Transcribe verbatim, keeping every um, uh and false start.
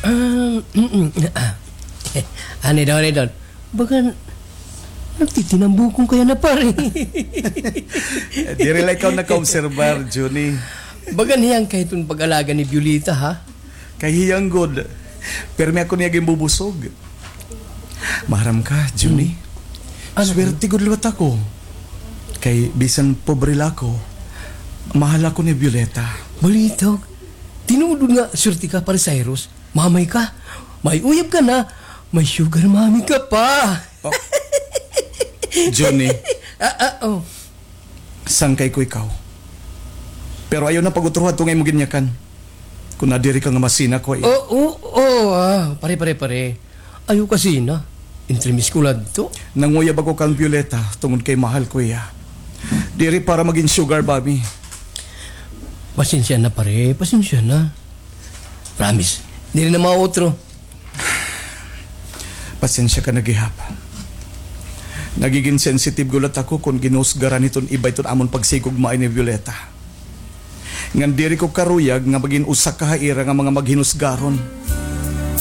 Ah, mm, mm, ah. Ano daw, ano daw? Baga, nagtitinambukong kaya na, pare. Diri la ikaw nakaobserbar, Junie. Baga niyan kay iton pag-alaga ni Violeta, ha? Kay hiyang gud. Pirmi ako niya ginbubusog. Maharam ka, Junie. Hmm. Ano? Swerte gud liwat ako. Kay bisan pobre la ako, mahal ako ni Violeta. Balitaw, tinuod nga swerte ka, Pare Cyrus. Mamay ka. May uyab ka na. May sugar mommy ka pa. Oh. Junie. Ah, ah, oh. Sangkay ko ikaw. Pero ayaw na pag-utro hadto nga imo ginyakan. Kon nadiri ka nga masina ko, eh. Oh, oh, oh, ah, pare, pare, pare. Ayaw kasina. Entremis ko la hadto. Nanguyab ako kan Violeta tungod kay mahal ko hiya. Diri para magin sugar mommy. Pasensya na, pare. Pasensya na. Promise. Diri na mautro. Pasensya ka na gihap. Nagigin sensitive gud liwat ako kon ginhusgaran hiton iba iton amon pagsigugmaay ni Violeta. Ngan diri ko karuyag nga magin usa ka ha ira nga mga maghinusgaron.